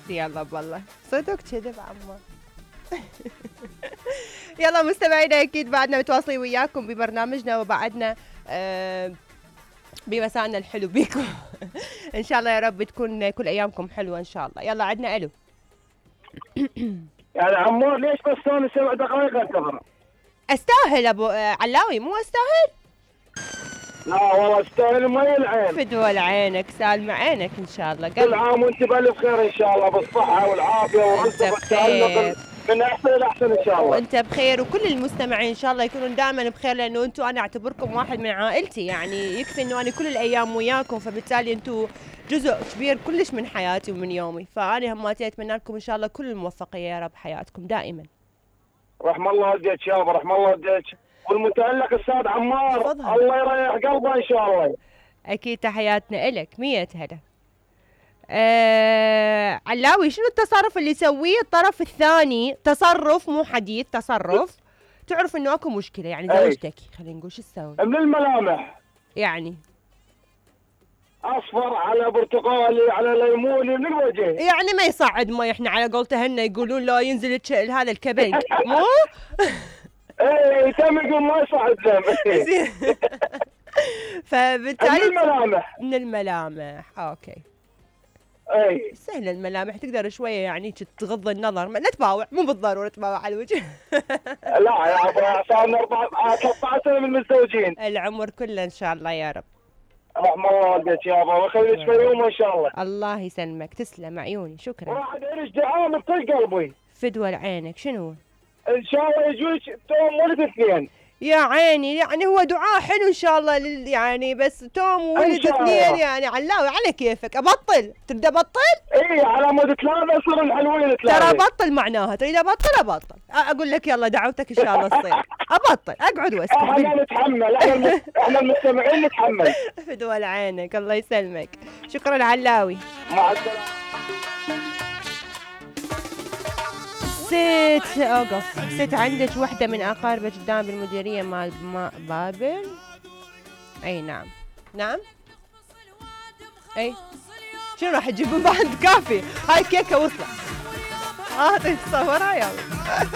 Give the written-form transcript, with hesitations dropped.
يلا بالله صدق كذب عمار. يلا مستمعينا اكيد بعدنا متواصلين وياكم ببرنامجنا وبعدنا بمساءنا الحلو بيكم. ان شاء الله يا رب تكون كل ايامكم حلوه ان شاء الله. يلا عدنا الو. يعني عمار ليش بس ثاني 7 دقائق انتظر؟ استاهل ابو علاوي مو استاهل؟ لا والله استاهل مي العين. فدوى عينك سالمة عينك ان شاء الله. كل عام وانت بالف خير ان شاء الله بالصحه والعافيه والرزق والتألق من احسن الى احسن ان شاء الله. وانت بخير وكل المستمعين ان شاء الله يكونون دائما بخير لانه انتم انا اعتبركم واحد من عائلتي يعني يكفي انه انا كل الايام وياكم فبالتالي انتم جزء كبير كلش من حياتي ومن يومي فانا هماتي اتمنى لكم ان شاء الله كل الموفقيه يا رب حياتكم دائما. رحم الله والديك يابا رحم الله والديك والمتألق استاذ عمار الله يريح قلبه ان شاء الله. اكيد تحياتنا الك 100 هلا. علاوي شنو التصرف اللي يسويه الطرف الثاني؟ تصرف مو حديث تصرف تعرف انه اكو مشكله يعني زوجتك خلينا نقول شو تسوي؟ من الملامح يعني اصفر على برتقالي على ليموني من الوجه يعني ما يصعد ما احنا على قولته هن يقولون لا ينزل هذا الكبنج مو؟ ايه تم يقول ما يصعد زين. فبالتالي من الملامح من الملامح اوكي. اي سهله الملامح تقدر شويه يعني تغض النظر لا تباوع مو بالضروره تباوع على الوجه. لا يا ابو صار 14 سنه من المتزوجين. العمر كله ان شاء الله يا رب. رحم الله والديك يابا ويخليك في يوم ان شاء الله. الله يسلمك تسلم عيوني شكرا. راح ادير دعاء من طق قلبي. فدوى لعينك شنو؟ ان شاء الله يجوك توم ولد اثنين. يا عيني يعني هو دعاء حلو ان شاء الله يعني بس توم وولد اثنين يعني علاوي على كيفك ابطل تبدا ابطل؟ اي على مود 3 يصير الحلوين 3 ترى ابطل معناها تريد ابطل اقول لك يلا دعوتك ان شاء الله تصير ابطل اقعد واسكت. احنا نتحمل احنا المستمعين نتحمل. فدوى لعينك الله يسلمك شكرا علاوي. مع السلامه. ست عندك وحده من اقاربك قدام بالمديريه مال بابل؟ اي نعم اي شنو راح تجيبون بعد كافي؟ هاي كيكه وصلت. تصورها يلا.